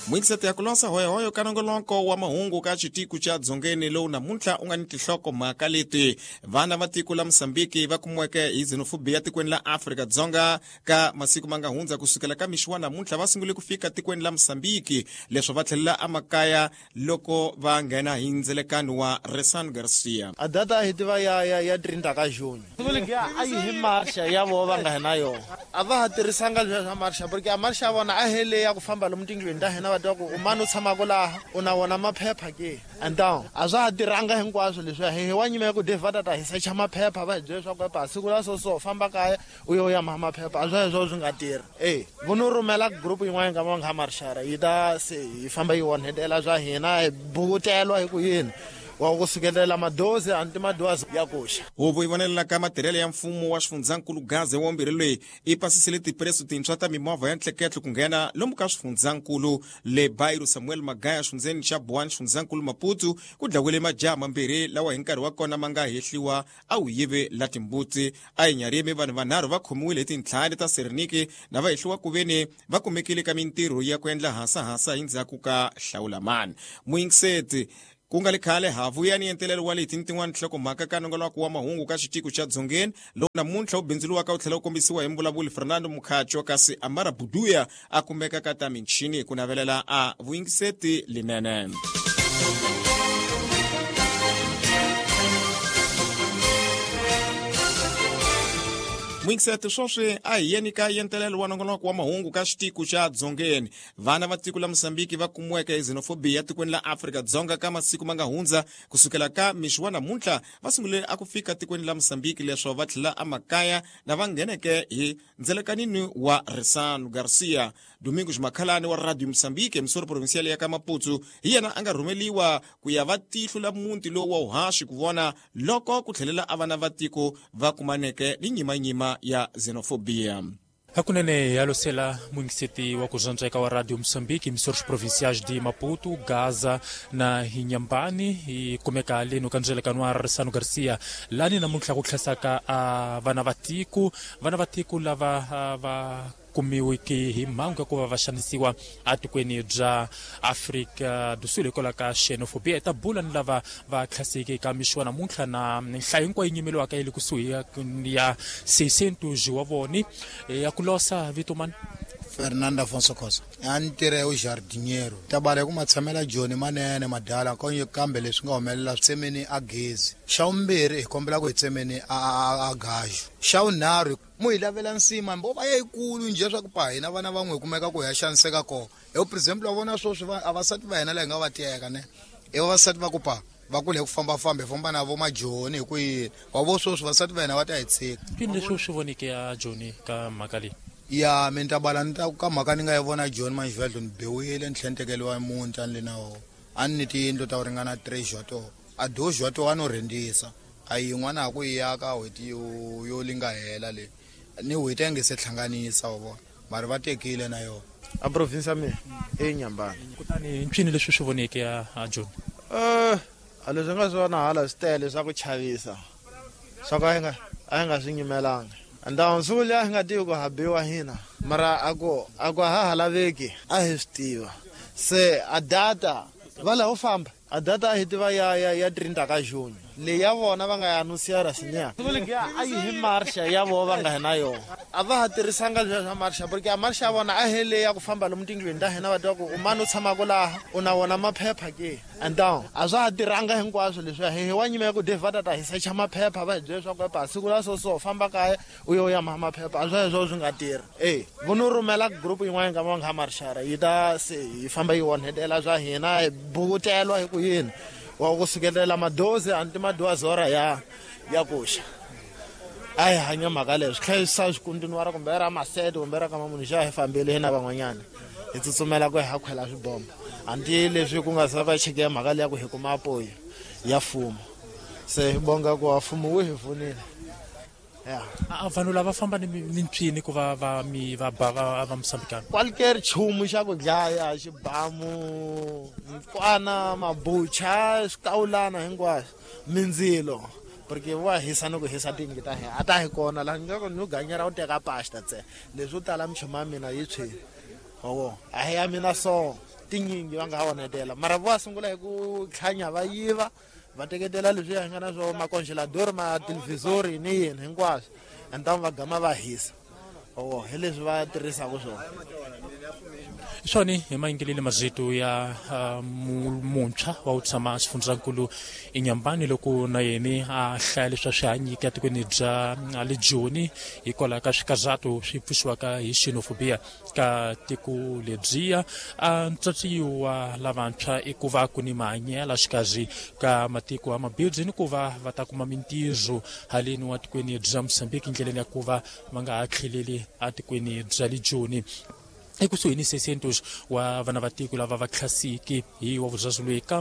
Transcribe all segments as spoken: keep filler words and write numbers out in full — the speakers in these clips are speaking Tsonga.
Mwingiseti ya kulosa hoyohoyo ka nongoloko wa mahungu ka xitiko xa dzongeni lowu namuntlha u nga ni tinhlokomhaka leti. Vana va tiko la Mosambiki va kumiweke hi xenophobia tikweni la Afrika-Dzonga ka masiku ma nga hundza kusukela ka mixi wa namuntlha va sungule ku fika tikweni la Mosambiki leswo va tlhelela emakaya loko va nghena hi ndzelekano wa Resan Garcia. A data hi tiva ya ya ya trinta ka June. A yi hi marsha ya vo va nga hina yona. A va ha tirhisanga leswiya swa marsha porque a marsha ya vona a hele ya ku famba lomu tindlwini ta hina va twa ku u mani u tshamaka laha u na wona maphepha ke. And down a swa ha tirhanga hinkwaswo leswiya hi wa nyima ya ku Dave va ta ta hi secha maphepha va hi byela leswaku epa siku la so so famba kaya u yo ya maha maphepha a swa sweswo swi nga tirhi. E vo no rhumela group yin'wana ka va nga marshara yi ta se yi famba yi onhetela swa hina hi bukutelwa hi ku yini wa ku sukelela madozi anti madozi ya koxa. Huvo yi vonelela ka matirhelo ya mfumo wa xifundzankulu Gaza wa mbirhi loyi i pasisile tipreso tintshwa ta mimovha ya ntleketlo ku nghena lomu ka xifundzankulu le Bairro Samuel Magaya xifundzeni xa Buwani xifundzankulu Maputo ku dlawile majaha mambirhi lawa hi nkarhi wa kona ma nga hehliwa a wu yive la timbuti. A hi nyarimi vanhu vanharhu va khomiwile hi tintlhari ta Sereniki na va hehliwa ku veni va kumekile ka mintirho ya ku endla hasahasa hi ndzhaku ka hlawulamani. Muyingiseti ku nga le khale ha vuya ni entelelo wa leti ni tin'wana nhlokomhaka ka nongoloko wa mahungu ka xitiko xa dzongeni lowu namuntlha wu bindzuriwaka wu tlhela wu kombisiwa hi mvulavuli Fernando Mukhacho kasi Amara Buduya a kumeka ka ta michini ku navelela a vuyingiseti linene. Mwingiseti swoswi a hi yeni ka yentelelo wa nongoloko wa mahungu ka xitiko xa dzongeni. Vana va tiko la Mosambiki va kumiweke hi xenophobia tikweni la Afrika-Dzonga ka masiku ma nga hundza kusukela ka mixi wa namuntlha va sungule a ku fika tikweni la Mosambiki leswo va tlhela emakaya na va ngheneke hi ndzelekanini wa Resano Garcia. Domingos Makhalani wa Radio Mosambiki emisoro provincial ya ka Maputo hi yena a nga rhumeliwa ku ya va tihlo la muti lowu wa uhaxi ku vona loko ku tlhelela a vana va tiko va kumaneke ni nyimanyima ya xenophobia. Hakunene yalosela mwingiseti wa kuzanzeka wa Radio Mosambiki emissoras provinciais de Maputo, Gaza na Inhambane e kumeka ali no kanzelekano wa Resano Garcia lani namuntlha ku tlhasaka a vana va tiko vana va tiko lava va kumiweke hi mhangu ya ku va va xanisiwa atikweni bya Afrika do Sul hikwalaho ka xenophobia. Hi ta bula ni lava va tlhaseke ka mixi wa namuntlha na nhlayo hinkwayo yi nyimeliwaka yi le kusuhi ya seiscentos wa voni ya ku losa vito mani. Fernando Afonso Khosa a ni tirha u jardinheiro tabala ku matshamela Joni manene madala konye kambe leswi nga humelela tsemeni a gezi xa vumbirhi hi kombela ku hi tsemeni a a gaju xa vunharhu mu hi lavela nsima mbo va yikulu njhe swa ku pa hina vana van'we hi kumeka ku hi ya xaniseka kona hi for example wa vona swoswi vavasati va hina la hi nga va teka ne i vavasati va ku pa va kule ku fambafamba hi famba na vo majoni hi ku yini wa vo swoswi vasati va hina va ta hi tshika. Yini leswi u swi voneke ya Joni ka mhaka leyi? Ya mi ta bala ni ta ka mhaka ni nga yi vona Joni manjivhedlo ni biwile ni tlhela ni tekeriwa muti a ni le na wona a ni ni tiyindlu ta ku ringana three to a doze to a no rhentisa a yin'wana ha ku yi aka n'hweti yo yo li nga hela leyi ni n'hweti a nge se hlanganisa wa vona mara va tekile na yona. A province ya mina i Inhambane. Kutani ncini leswi swi voneke ya Joni? Eh a leswi nga swi vona hala swi tele swa ku chavisa swa ku a hi nga a hi nga swi nyimelanga. Ndhawu siku liya hi nga tivi ku ha biwa hina mara a ku a ku ha ha laveki a hi swi tiva se a data va laha u famba a data a hi tiva ya ya ya trinta ka June leyi ya vona va nga ya anusiara sinya a yi hi marsha ya vo va nga hina yona a va ha tirhisanga leswiya swa marsha porque a marsha ya vona a hele ya ku famba lomu tindlwini ta hina va twa ku u mani u tshamaka laha u na wona maphepha ke. And down a swa ha tirhanga hinkwaswo leswiya hi wa nyima ya ku Dave va ta ta hi secha maphepha va hi byela leswaku epa siku la so so famba kaya u yo ya maha maphepha a swa sweswo swi nga tirhi. E vo no rhumela group yin'wana ka va nga marshara yi ta se yi famba yi onhetela swa hina hi bukutelwa hi ku yini wa ku sukelela madozi anti madozi ya ya koxa a hi hanya mhaka leyo swi tlhela swi kontinuara kumbe ra masete kumbe ra ka mamunhu xa hi fambile hina van'wanyana hi tsutsumela ku hi ha khwela swibomba anti leswi ku nga se va cheke ya mhaka leya ku hi kuma apoyo ya mfumo se hi bonga ku wa mfumo wu hi pfunile. Ya a vanhu lava famba ni ni mpyini ku va va mi va ba va va Mosambikana qualquer nchumu xa ku dlaya xibamu nkwana mabucha swikawulana hinkwaswo mindzilo porque wa hisa ni ku hisa tiyindlu ta hina a ta hi kona laha ni nga ku ni ganyera u teka pasta ntsena leswo tala minchumu ya mina yi tshwile wa vona a hi ya mina so. Tinyingi va nga ha onhetela mara vo sungula hi ku tlhanya va yiva va teketela leswi hi nga na swona makongelador ma televisori ni yini hinkwaswo and then va gama va hisa oh hi leswi va tirhisaka swona. Swona hi mayingelele mazito ya uh, muntshwa wa ku tshama xifundzankulu Inhambane loko na yena a hlaya leswi swi hanyika etikweni bya le Joni hikwalaho ka swikazato swi pfuxiwaka hi xenofobia ka tiko lebyiya. A ntsatsi wa lavantshwa i ku va ku ni mahanyelo xikarhi ka matiko ya mabindzu ni ku va va ta kuma mintirho haleni wa tikweni bya Mozambique ndleleni ya ku va va nga ha tlheleli etikweni bya le Joni. Ekusuhi ni seiscentos wa vana va tiko lava va tlhasiki hi wa vuzazi loyi ka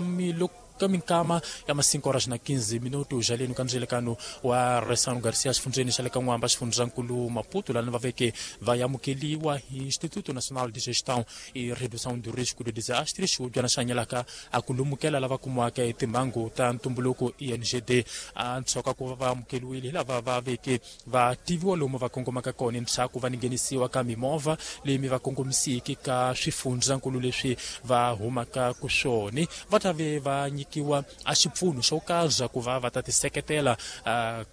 ka minkama ya ma cinco horas na quinze minutos jaleni ka ndzelekano wa Resano Garcia xifundzeni xa le ka N'wamba xifundzankulu Maputo lani va veke va amukeliwa hi Instituto Nacional de Gestão e Redução do Risco de Desastres xihubyana xa hanyelaka a ku lumukela lava kumiwaka hi timhangu ta ntumbuluko I N G D. A ntshoka ku va va amukeliwile hi lava va veke va tiviwa lomu va kongomaka kona ndzhaku va nghenisiwa ka mimovha leyi mi va kongomisiki ka swifundzankulu leswi va humaka ku swona va ta ve va nyikiwa a xipfuno xo karhi ku va va ta tiseketela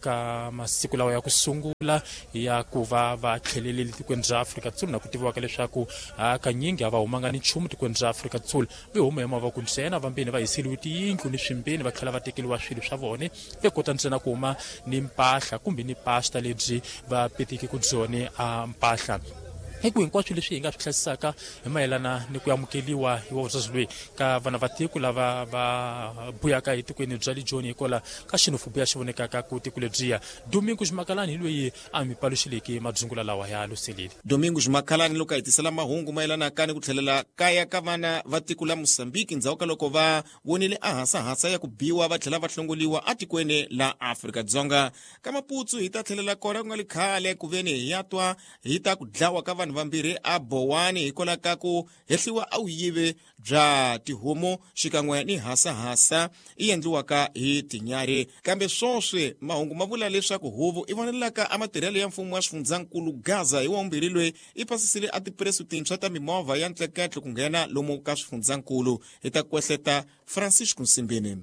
ka masiku lawa ya ku sungula ya ku va va tlhelelile tikweni ra Afrika-Dzonga na ku tiviwaka leswaku hakanyingi a va humanga ni nchumu tikweni ra Afrika-Dzonga ve huma hi mavoko ntsena vambeni va hiseriwe tiyindlu ni swimbeni va tlhela va tekeriwa swilo swa vona ve kota ntsena ku huma ni mpahla kumbe ni pasta lebyi va petiki ku byona a mpahla. Hi ku hinkwaswo leswi hi nga swi hlayisaka hi mayelana ni ku amukeliwa hi wa loyi ka vana va tiko lava va buyaka hi tikweni bya le Joni hikwalaho ka xenofobia xi vonekaka ku tiko lebyiya. Domingos Makalani hi loyi a mi paluxileke madzungula lawa ya luselile. Domingos Makalani loko a hi tisela mahungu mayelana ka ni ku tlhelela kaya ka vana va tiko la Mozambique ndzhaku ka loko va vonile a hasahasa ya ku biwa va tlhela va hlongoliwa atikweni la Afrika-Dzonga. Ka Maputsu hi ta tlhelela kona ku nga li khale ku veni hi ya twa hi ta ku dlawa ka vanhu vambirhi a Bowani hikwalaho ka ku hehliwa a vuyivi bya tihomu xikan'we ni hasahasa i endliwaka hi tinyari. Kambe swoswi mahungu ma vula leswaku huvo i vonelaka a matirhelo ya mfumo wa xifundzankulu Gaza hi wa loyi i pasisile a tipresu tintshwa ta mimovha ya ntleketlo ku nghena lomu ka swifundzankulu. Hi ta kwehleta Francisco Nsimbini.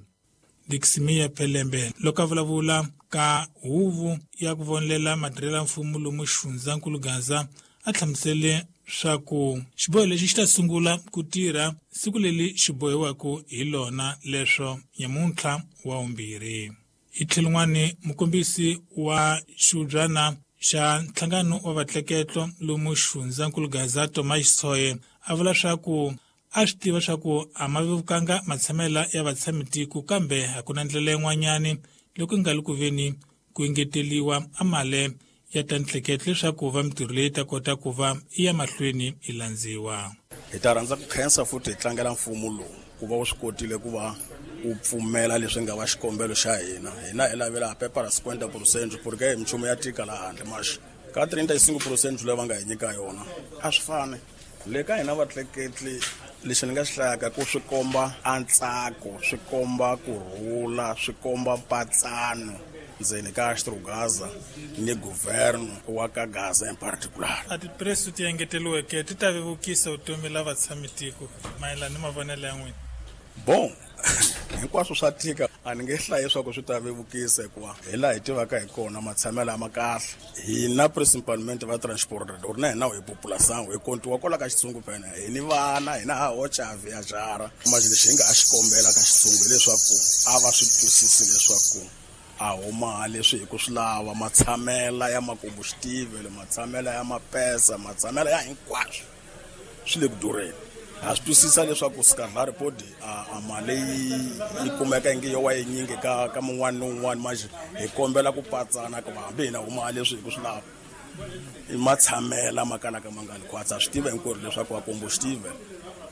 Diximia Pelembe loko a vulavula ka huvo ya ku vonelela matirhelo ya mfumo lomu xifundzankulu Gaza a hlamusele swa ku xiboho lexi xi ta sungula ku tirha siku leri xi bohiwaka hi lona leswo nyamuntlha wa vumbirhi. Hi tlhelo n'wani mukombisi wa xihubyana xa nhlangano wa vatleketlo lomu xifundzankulu Gaza Thomas Tshoye a vula swa ku a swi tiva swa ku a ma vevukanga matshamela ya vatshamitiko kambe a ku na ndlela yin'wanyani loko nga li ku veni ku engeteliwa a mali ya ta ntleketlo leswaku va mitirho leyi ta kota ku va i ya mahlweni i landziwa. Hi ta rhandza ku khensa futhi hi tlangela mfumo lowu ku va wu swi kotile ku va wu pfumela leswi nga va xikombelo xa hina. Hina hi lavela pepara cinquenta por cento porque hi minchumu ya tika laha handle maxi ka trinta e cinco por cento leyi va nga hi nyika yona a swi fani. Le ka hina vatleketli lexi ni nga xi hlayaka ku swi komba a ntsako, swi komba kurhula, swi komba mpatsano ndzeni ka Gaza ni governo wa ka Gaza in particular. A tipresu ti engeteliweke ti ta vevukisa vutomi la vatshamitiko mayelana ni mavonelo ya n'wina? Bon, hinkwaswo swa tika a ni nge hlayi leswaku swi ta vevukisa hikuva hi laha hi tivaka hi kona matshamelo ma kahle. Hina principalmente va transport or na hina hi population hi kontiwa kwala ka xitsungu phela hi ni vana hina ha hoxa viajara. Manje lexi hi nga ha xi kombela ka xitsungu hileswaku a va swi twisisi leswaku a huma leswi hi ku swi lava matshamela ya makombuxitivele, matshamela ya mapesa, matshamela ya hinkwaswo swi le ku durheni. Ha swi twisisa leswaku Skadlari podi a mali yi kumeka ingi yo wa yinyingi ka ka mun'wana ni un'wana manje hi kombela ku patsana ku hambi hina huma leswi hi ku swi lava i matshamela ma kalaka ma nga li khwatsa. Swi tiva hinkwerhu leswaku vakombuxitivele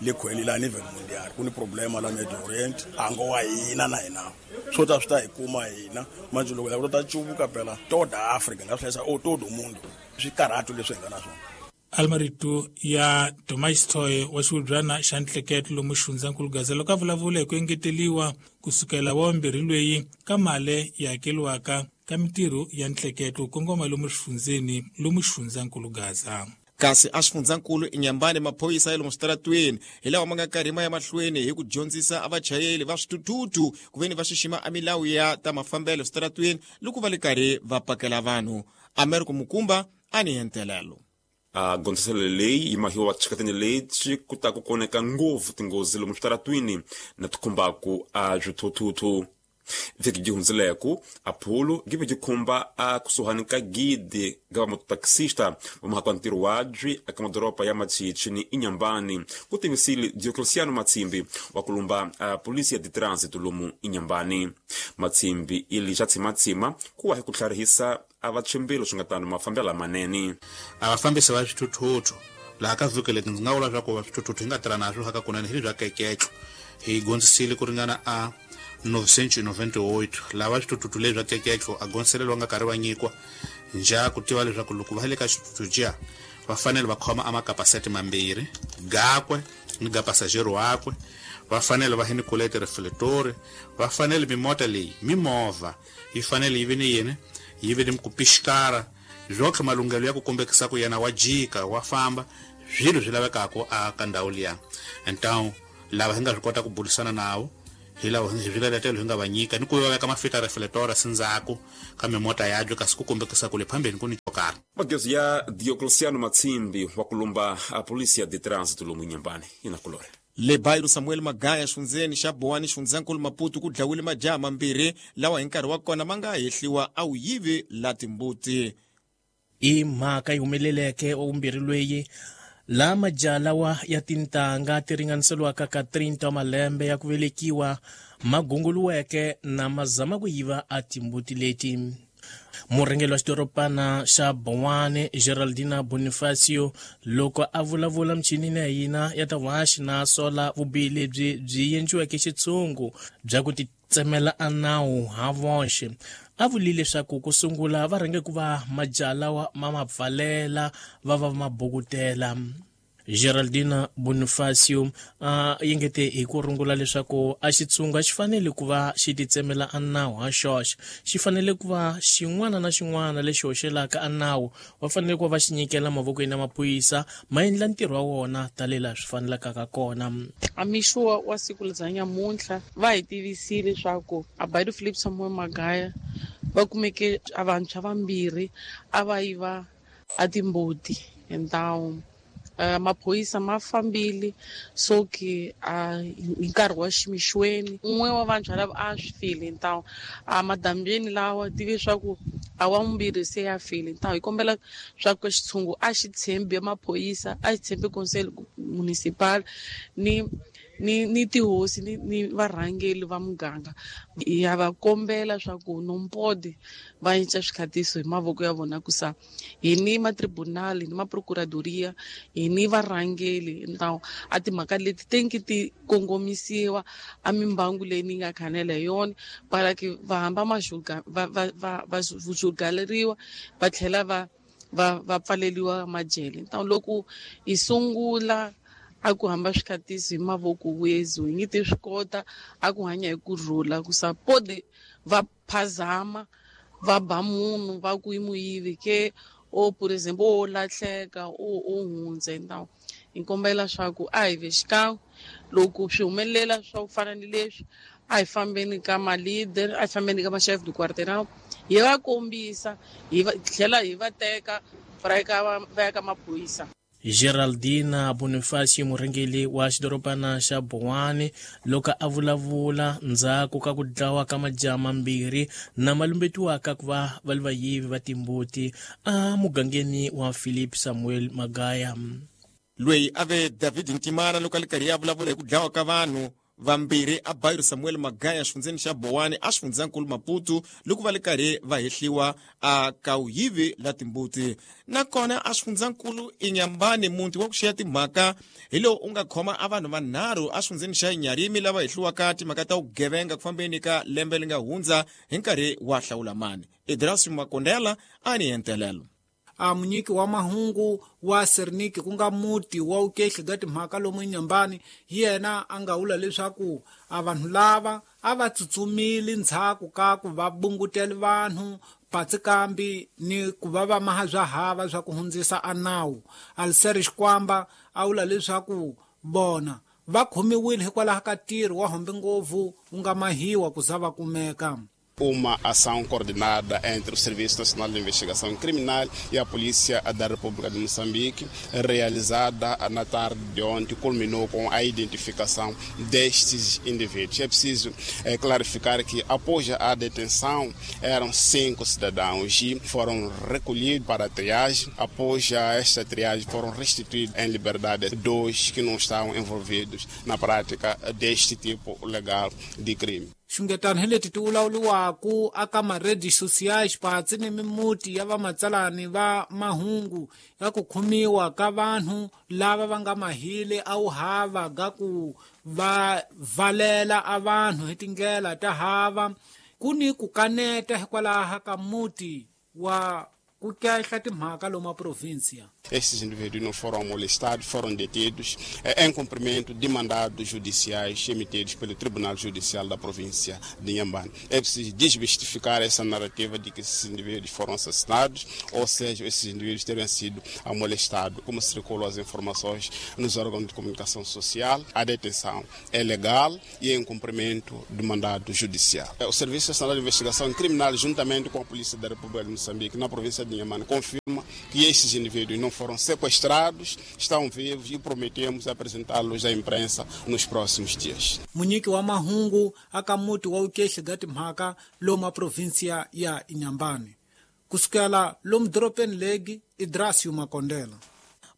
le khweni la nivel mundial ku ni problema la Medio Orient a ngo wa hina na hina swo ta swi ta hi kuma hina manje loko loko ta cuvuka phela toda Africa nga swi hlayisa o todo mundo swi karhatu leswi hi nga na swona. Almarito ya Thomas Tshoye wa xihubyana xa ntleketlo lomu xifundzankulu Gaza loko a vulavula hi ku engeteliwa kusukela wa vumbirhi loyi ka mali yi hakeliwaka ka mitirho ya ntleketlo kongoma lomu xifundzeni lomu xifundzankulu Gaza. Kasi a xifundzankulu Inhambane maphorisa ya lomu switaratweni hi lawa ma nga karhi ma ya mahlweni hi ku dyondzisa a vachayeri va swithuthuthu ku veni va xixima a milawu ya ta mafambelo switaratweni loko va le karhi va pakela vanhu. Americo Mukumba a ni hentelelo. A gondziselo leyi yi mahiwa chikateni leti ku ta ku koneka ngopfu tinghozi lomu switaratwini na tikhumbaku a swithuthuthu. Vhiki byi hundzileko apollo give byi khumba a kusuhani ka gidi ga vamototaxista va muhaka wa ntirho wabyi eka madoroba ya Machichi ni Inhambane, ku tivisile Diocleciano Matsimbi wa kulumba a polisi ya ditransit lomu Inhambane. Matsimbi ili xa tshimatsima ku wa hi ku tlharihisa a vachimbilo swi nga tano mafambelo lamanene. A vafambisi va swithuthuthu laha ka vhiki leti ndzi nga vula swa ku va swithuthuthu hi nga tirha na swo ka kunene hi lebya keketlo hi gondzisile ku ringana a novecentos e noventa e oito lava swithuthuthu lebya keketlo a gondziselelo nga karhi va nyikiwa nja ku tiva leswaku loko va le ka xithuthuthu jiya va fanele va khoma a makapasete mambirhi gakwe ni ga pasajero wakwe, va fanele va ni kulete reflector, va fanele mimota leyi mimovha yi fanele yi vi ni yini yi vi ni ku pixikara byotlhe malunghelo ya ku kombekisa ku yena wa jika wa famba swilo swi lavekaka a ka ndhawu liya. Então lava hi nga swi kota ku burisana nawo hi lava hi swiletelo hi nga va nyika ni ku va veka mafita reflector sindzhaku ka mimota yabyo kasi ku kombekisa ku le phambeni ku ni xo karhi. Magezi ya Diocleciano Matsimbi wa kulumba a polisi ya ditransit lomu Inhambane ina kulore. Le Bairro Samuel Magaya xfundzeni xa Boane xifundzankulu Maputo ku dlawile majaha mambirhi lawa hi nkarhi wa kona ma nga hehliwa a wu yivi la timbuti. I mhaka yi humeleleke wa vumbirhi lweyi la majaha lawa ya tintangha ti ringaniseriwaka ka trinta wa malembe ya ku velekiwa ma gunguluweke na ma zama ku yiva a timbuti leti. Murhangeri wa xidorobana xa Boane Geraldina Bonifacio loko a vulavula michinini ya hina ya ta vuhaxi na sola vubihi lebyi byi endliweke xitshungu bya ku titsemela a nawu ha voxe, a vulile leswaku ku sungula va rhange ku va majaha lawa ma ma pfalela va va ma bukutela. Geraldina Bonifacio a yingete hi ku rungula leswaku a xitshungu a xi fanele ku va xi titsemela a nawu ha xoxe, xi fanele ku va xin'wana na xin'wana lexi hoxelaka a nawu va fanele ku va va xi nyikela mavokweni ya maphorisa ma endla ntirho wa wona tanihi swi fanelekaka kona. A mixo wa siku bya nyamuntlha va hi tivisile leswaku a Bairro Philip Samuel Magaya va kumeke a vantshwa vambirhi a va yiva a timbuti hi ndhawu. Uh, maphorisa ma fambile so ke uh, hi nkarhi wa ximixweni un'we wa vantshwa lava a swi file ntawo a madambyeni lawa tive swa ku a wa vumbirhi se ya file ntawo. Hi kombela swa ku xitshungu a xi tshembi maphorisa, a xi tshembi consel municipal ni ni ni tihosi ni, ni varhangeli va muganga. Ya va kombela swa ku nompodi va cinca swikhatiso hi mavoko ya vona ku sa hi ni matribunali ni maprocuradoria hi ni varhangeli ntawo a timhaka leti tenki ti kongomisiwa a mimbangu leyi ni nga khanela hi yona para ke va hamba maxuga va va va va julgaleriwa va tlhela va va va pfaleliwa majele. Ntawo loko hi sungula a ku hamba swikhatiso hi mavoko wezu hi nge ti swi kota a ku hanya hi ku rhula ku sa podi va phazama va ba munhu va ku i muyivi ke o por exemple o lahleka o o hundze ntawo. Hi kombela swa ku a hi ve xikan'we loko swi humelela swa ku fana ni leswi a hi fambeni ka ma-leader, a hi fambeni ka ma-chef du quartier hi va kombisa hi va tlhela hi va teka va ya ka va ya ka maphorisa. Geraldina Bonifacio murhangeri wa xidorobana xa Boane loko a vulavula ndzhaku ka ku dlawa ka majaha mambirhi na malumbetiwaka ku va va li vayivi va timbuti a mugangeni wa Philip Samuel Magaya. Loyi a ve David Ntimana loko a li karhi ya vulavula hi ku dlawa ka vanhu vambirhi a Bairro Samuel Magaya xifundzeni xa Boane a xifundzankulu Maputo loko va le karhi va hehliwa a ka wuyivi la timbuti. Nakona a xifundzankulu Inhambane muti wa ku xiya timhaka hi lowu u nga khoma a vanhu vanharhu a xifundzeni xa Inharime lava hehliwaka timhaka ta vugevenga ku fambeni ka lembe leri nga hundza hi nkarhi wa hlawulamani. Idrasi Makondela a ni hentelelo. A munyiki wa mahungu wa Serniki ku nga muti wa ukehli ga timhaka lomu Inhambane hi yena a nga vula leswaku a vanhu lava a va tsutsumile ndzhaku ka ku va bungutele vanhu patsikambi ni ku va va maha bya hava swa ku hundzisa a nawu. Alser Xikwamba a vula leswaku vona va khomiwile hikwalaho ka ntirho wa hombe ngopfu wu nga mahiwa ku za va kumeka. Uma ação coordenada entre o Serviço Nacional de Investigação Criminal e a Polícia da República de Moçambique, realizada na tarde de ontem, culminou com a identificação destes indivíduos. É preciso é, clarificar que, após a detenção, eram cinco cidadãos e foram recolhidos para a triagem. Após esta triagem, foram restituídos em liberdade dois que não estavam envolvidos na prática deste tipo legal de crime. Xungetano hi leti ti vulavuriwaku aka maredi sociais patsi ni mimuti ya vamatsalani va mahungu ya ku khomiwa ka vanhu lava va nga mahile a wu hava ga ku va valela a vanhu hi tindlela ta hava. Ku ni ku kaneta hikwalaho ka muti wa ku kehla timhaka lomu província. Esses indivíduos não foram molestados, foram detidos em cumprimento de mandados judiciais emitidos pelo Tribunal Judicial da província de Inhambane. É preciso desmistificar essa narrativa de que esses indivíduos foram assassinados, ou seja, esses indivíduos teriam sido molestados. Como circulam as informações nos órgãos de comunicação social, a detenção é legal e em cumprimento de mandado judicial. O Serviço Nacional de Investigação Criminal, juntamente com a Polícia da República de Moçambique, na província de Inhambane, confirma que estes indivíduos não foram sequestrados, estão vivos e prometemos apresentá-los à imprensa nos próximos dias. Munyiki wa mahungu aka muti wa ukehli ga timhaka lomu a província ya Inhambane. Kusukela lomu doropeni legi, Idrasio Makondela.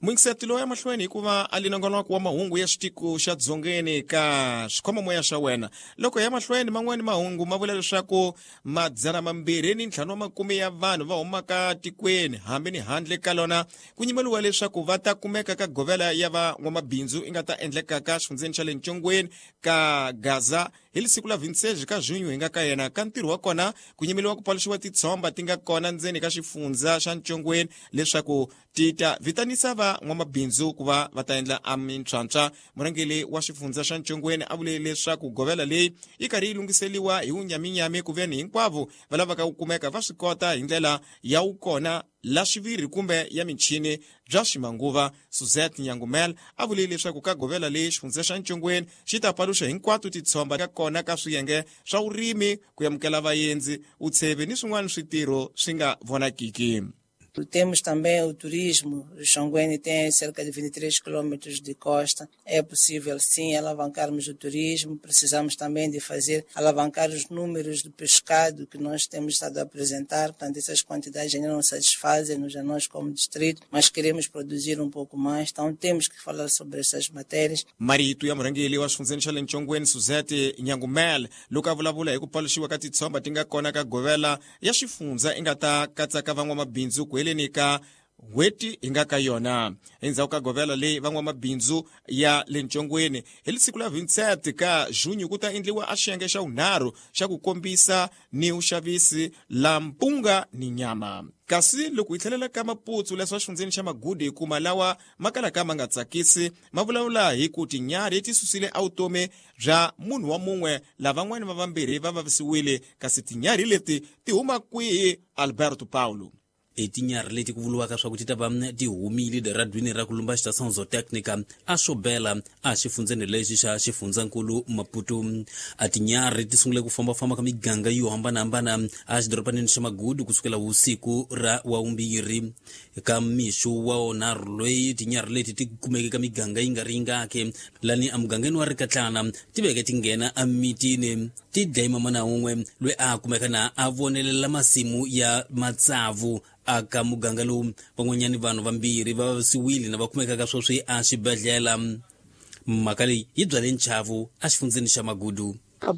Muingiseti loyi emahlweni hikuva a linongonoko wa mahungu ya xitiko xa dzongeni ka xikhomamoya xa wena. Loko ya mahlweni man'wani mahungu ma vula leswaku madzana mambirhi ni ntlhanu wa makume ya vanhu va humaka tikweni hambi ni handle ka lona ku nyimeliwa leswaku va ta kumeka ka govela ya van'wamabindzu i nga ta endleka ka xifundzeni xa le Ntshongweni ka Gaza hi siku la vintsheji ka junho hi nga ka yena. Ka ntirho wa kona ku nyimeliwa ku paluxiwa titshomba ti nga kona ndzeni ka xifundza xa Ntshongweni leswaku ti ta vitanisa va n'wamabindzu ku va va ta endla a mintswantswa. Murhangeri wa xifundza xa Ntshongweni a vule leswaku govela leyi yi karhi yi lunghiseliwa hi wunyaminyami ku veni hinkwavo va lavaka ku kumeka va swi kota hi ndlela ya wukona la xiviri kumbe ya michini bya ximanguva. Suzette Nyangumel a vule leswaku ka govela leyi xifundza xa Ntshongweni xi ta paluxa hinkwato titshomba ka kona ka swiyenge swa vurimi, ku amukela vaendzi, utsheve ni swin'wana switirho swi nga vonakiki. Temos também o turismo. O Xanguene tem cerca de vinte e três quilômetros de costa. É possível, sim, alavancarmos o turismo. Precisamos também de fazer, alavancar os números do pescado que nós temos estado a apresentar. Portanto, essas quantidades ainda não satisfazem-nos a nós como distrito, mas queremos produzir um pouco mais. Então, temos que falar sobre essas matérias. Marito ya murhangeri wa xifundzeni xa le Ntshongweni Suzette Nyangumel loko a vulavula hi ku paluxiwa ka titshomba ti nga kona ka govela ya xifundza i nga ta katsaka van'wamabindzu ku heleni ka n'hweti hi nga ka yona. Endzhaku ka govela leyi van'wamabindzu ya le Ntshongweni hi siku la vintsete ka junho ku ta endliwa a xiyenge xa vunharhu xa ku kombisa ni vuxavisi la mpunga ni nyama. Kasi loko hi tlhelela ka Maputsu leswa xifundzeni xa Magudu hi kuma lawa ma kalaka ma nga tsakisi ma vulavula hi ku tinyarhi ti susile evutomi bya munhu wa mun'we lavan'wana va vambirhi va vavisiwile. Kasi tinyarhi leti ti huma kwihi? Alberto Paulo. Etinyarhi leti ku vuriwaka swa ku ti ta va ti humile eradwini ra ku lumba xitação zotécnica a swo bela a xifundzeni lexi xa xifundzankulu Maputo. A tinyarhi ti sungule ku fambafamba ka miganga yo hambanahambana a xidorobaneni xa Magudu kusukela vusiku ra wavumbirhi ka mixo wa wonharhu loyi tinyarhi leti ti kumeke ka miganga yi nga ri yingaki lani emugangeni wa Rikatlana ti veke ti nghena emitini ti dlaye mamana wun'we loyi a kumeka na a vonelela masimu ya matsavu aka muganga lowu. Van'wanyani vanhu vambirhi va vavisiwile na va kumekaka sweswi a xibedhlele. Mhaka leyi yi byale nchavu exifundzeni xa Magudu. Ka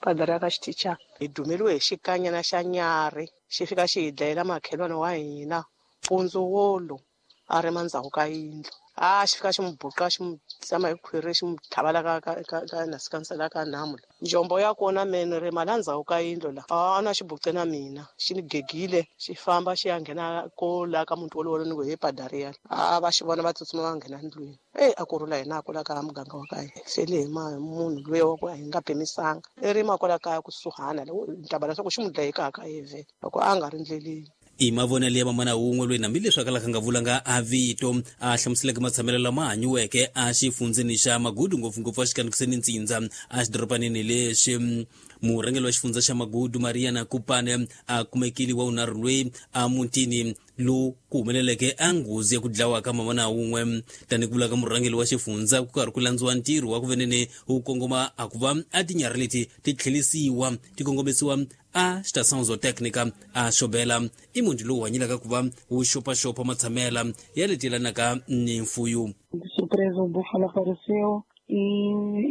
padara ka xitichana hi dumeliwe hi xikanyana xa nyarhi xi fika xi hi dlayela makhelwani wa hina mpundzu wolo a ri mandzhaku ka yindlu. A xi fika xi n'wi buqa xi n'wi tsema hi khwiri xi n'wi tlhava la ka ka ka ka nasikansela ka nhamu la. Njombo ya kona me ni rima la ndzhaku ka yindlu la a na xi buqe na mina xi ni gegile xi famba xi ya nghena ko la ka muti wolowo ni ku he padariya a va xi vona va tsutsuma va nghena ndlwini. Eyi a ku rhula hina kwala ka muganga wa ka hina fele hi ma munhu luya wa ku a hi nga pimisanga i rima kwala kaya kusuhana ni ta va leswaku xi n'wi dlaye ka ka yevhe loko a nga ri ndleleni. I mavonelo ya mamana wun'we loyi hambileswi a kalaka nga vulanga a vito a hlamuseleke matshamelo lama hanyiweke a xifundzeni xa Magudu ngopfungopfu a xikanikiseni ntsindza a xidorobanini lexi. Murhangeri wa xifundza xa Magudu Mariana Kupane a kumekile wa vunharhu loyi a mutini lowu ku humeleleke a nghozi ya ku dlawa ka mamana wun'we. Tanihi ku vula ka murhangeri wa xifundza ku karhi ku landziwa ntirho wa ku venene wu kongoma a ku va a tinyarhi leti ti tlhelisiwa ti kongomisiwa a xitação zotécnica a xobela. I munhu lowu hanyelaka ku va wu xopaxopa matshamela ya leti yelanaka ni mfuyo. De surpresa o búfalo apareceu e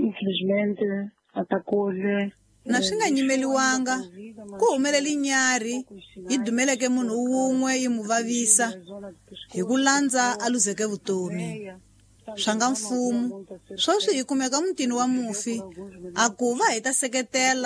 infelizmente atacou-lhe. Na swi nga nyimeliwanga ku humelele nyarhi yi dumeleke munhu wun'we yi mu vavisa hi ku landza a luzeke vutomi. Swa nga mfumo sweswi hi kumeka mutini wa mufi a ku va hi ta seketela.